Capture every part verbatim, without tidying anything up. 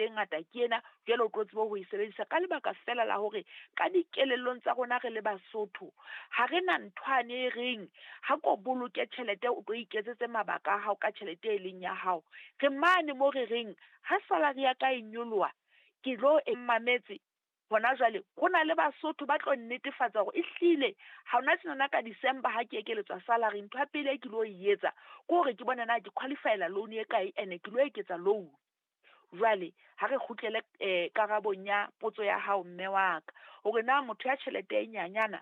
tjhelete e ngata ke ena, jwale o tlo tsebe ho e sebedisa. Ka lebaka fela la hore ka dikelellong tsa rona re le Basotho, ha re na nthwane e reng ha ko boloke tjhelete o tlo iketsetse mabaka a hao ka tjhelete e leng ya hao. Re mane mo re reng ha salary ya ka e nyoloha, ke tlo e mametse hona jwale. Ho na le Basotho ba tlo nnetefatsa hore ehlile ha hona tjenana ka December ha ke ekeletswa salary, ntho ya pele e ke lo e etsa ke hore ke bone na ke qualify-ela loan e kae, ene ke lo eketsa loan. Jwale ha re kgutlele karabong ya potso ya hao mme wa ka, hore na motho ya tjhelete e nyanyana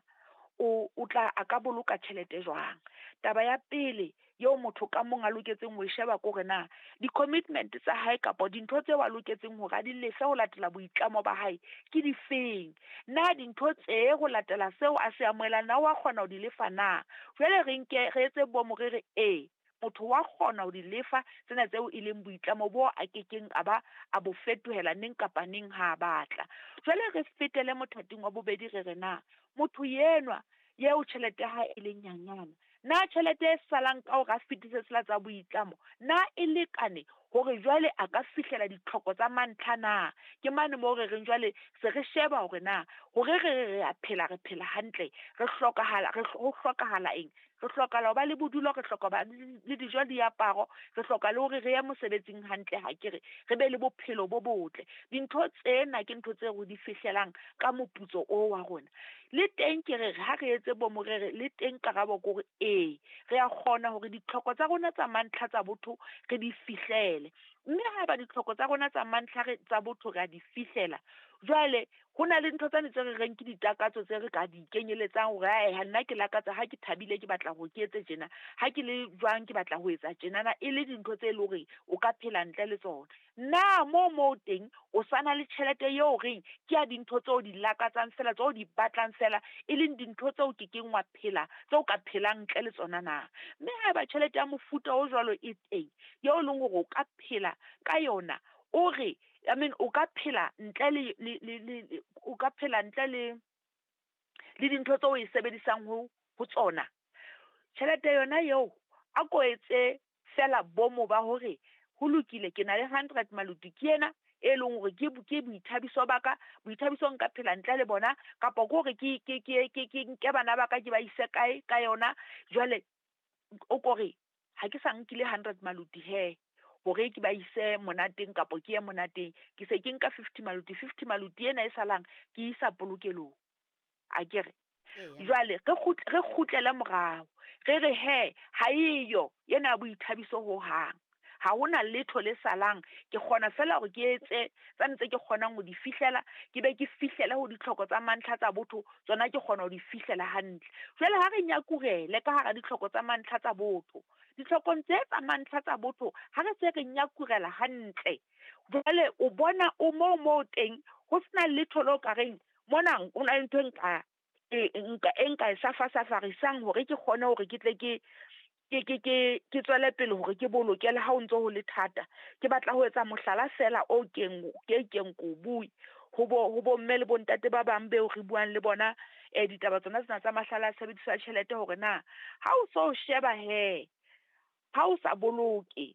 o o tla a ka boloka tjhelete jwang. Taba ya pele eo motho ka mong a loketseng ho e sheba ke hore na di-commitment tsa hae kapa dintho tseo a loketseng hore a di lefe ho latela boitlamo ba hae ke difeng. Na dintho tse ho latela seo a se amohelang na wa kgona ho di lefa na? Jwale re nke re etse bomo re re ee, motho wa kgona ho di lefa tsena tseo e leng boitlamo bo a kekeng a ba a bo fetohela neng kapa neng ha a batla. Jwale re fetele mothating wa bobedi re re na motho enwa eo tjhelete ya hae e leng nyanyana, na tjhelete e salang ka hore a fetise tsela tsa boitlamo, na e lekane hore jwale a ka fihlela ditlhoko tsa mantlha na? Ke mane moo re reng jwale se re sheba hore na hore re re re a phela, re phela hantle, re hlokahala re ho hlokahala eng? Re hlokahala ho ba le bodulo, re hloka ba le dijo, diaparo, re hloka le hore re ye mosebetsing hantle ha ke re, re be le bophelo bo botle. Dintho tsena ke ntho tseo re di fihlelang ka moputso o wa rona. Le teng ke re ha re etse bo morere, le teng karabo ke hore ee, re a kgona hore ditlhoko tsa rona tsa mantlha tsa botho re di fihlele. Mme haeba ditlhoko tsa rona tsa mantlha re tsa botho re a di fihlela, jwale ho na le ntho tsane tse re reng ke ditakatso tse re ka di kenyeletsang hore ae nna ke lakatsa ha ke thabile ke batla hore ke etse tjena, ha ke le jwang ke batla ho etsa tjenana, e le dintho tse leng hore o ka phela ntle le tsona. Na moo moo teng o sa na le tjhelete eo reng ke ya dintho tseo di lakatsang fela, tseo di batlang fela, e leng dintho tseo ke keng wa phela, tseo ka phelang ntle le tsona na? Mme haeba tjhelete ya mofuta o jwalo e teng, eo e leng hore o ka phela ka yona, o re I mean o ka phela ntle le le le le o ka phela ntle le le dintho tseo o e sebedisang ho ho tsona. Tjhelete yona eo a ko etse fela bomo ba hore ho lokile ke na le hundred maluti ke ena e leng hore ke ke boithabiso ba ka, boithabiso nka phela ntle le bona, kapa ke hore ke ke ke ke ke nke bana ba ka ke ba ise kae ka yona. Jwale o ko re ha ke sa nkile hundred maluti hee hore ke ba ise monateng kapa ke ye monateng, ke se ke nka fifty maluti, fifty maluti ena e salang ke isa polokelong. Akere jwale re re kgutlele morao re re hee ha eyo ena ya boithabiso hohang, ha hona letho le salang, ke kgona fela hore ke etse tsane tse ke kgonang ho di fihlela, ke be ke fihlele ho ditlhoko tsa mantlha tsa botho, tsona ke kgona ho di fihlela hantle. Jwale ha re nyakurele ka hara ditlhoko tsa mantlha tsa botho, ditlhokong tse tsa mantlha tsa botho ha re se re nyakurela hantle, jwale o bona o moo moo teng ho sena letho leo ka reng mona ho na le ntho e nka e nka e nka e safasafarisang hore ke kgone hore ke tle ke ke ke ke ke tswele pele hore ke boloke le ha o ntso ho le thata. Ke batla ho etsa mohlala fela o keng ke keng ko bue ho bo ho bomme le bontate ba bang beo re buang le bona eh ditaba tsona tsena tsa mahlale a tshebediso ya tjhelete hore na ha o so sheba hee ha o sa boloke,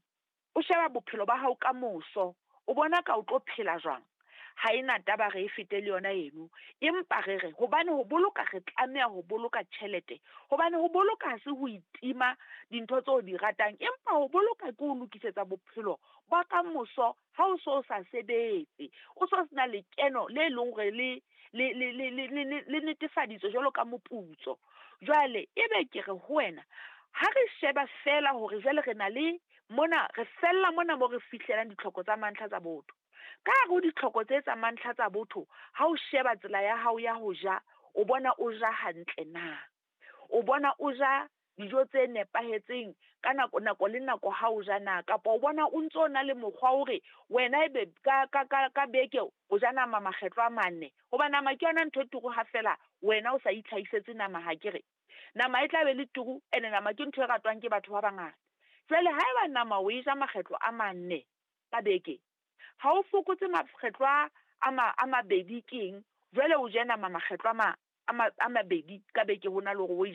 o sheba bophelo ba hao ka moso, o bona ka o tlo phela jwang? Ha ena taba re e fete le yona eno, empa re re hobane ho boloka re tlameha ho boloka tjhelete, hobane ho boloka ha se ho itima dintho tseo di ratang, empa ho boloka ke ho lokisetsa bophelo ba kamoso ha o so sa sebetse, o so sena lekeno le leng hore le le le le le le le netefaditswe jwalo ka moputso. Jwale ebe ke re ho wena ha re sheba fela hore jwale re na le mona, re fella mona mo re fihlelang ditlhoko tsa mantlha tsa botho. Ka hare ho ditlhoko tse tsa mantlha tsa botho, ha o sheba tsela ya hao ya ho ja, o bona o ja hantle na? O bona o ja dijo tse nepahetseng ka nako nako le nako ha o ja na? Kapa o bona o ntso na le mokgwa hore wena ebe ka ka ka ka beke o ja nama makgetlo a mane, hoba nama ke yona ntho e turu ha fela wena o sa itlhahisetse nama ha ke re. Nama e tla be le turu, ene nama ke ntho e ratwang ke batho ba bangata. Jwale haeba nama o e ja makgetlo a mane ka beke, ha o fokotse makgetlo a a mabedi keng, jwale o je nama makgetlo a ma a mabedi ka beke hona le hore o e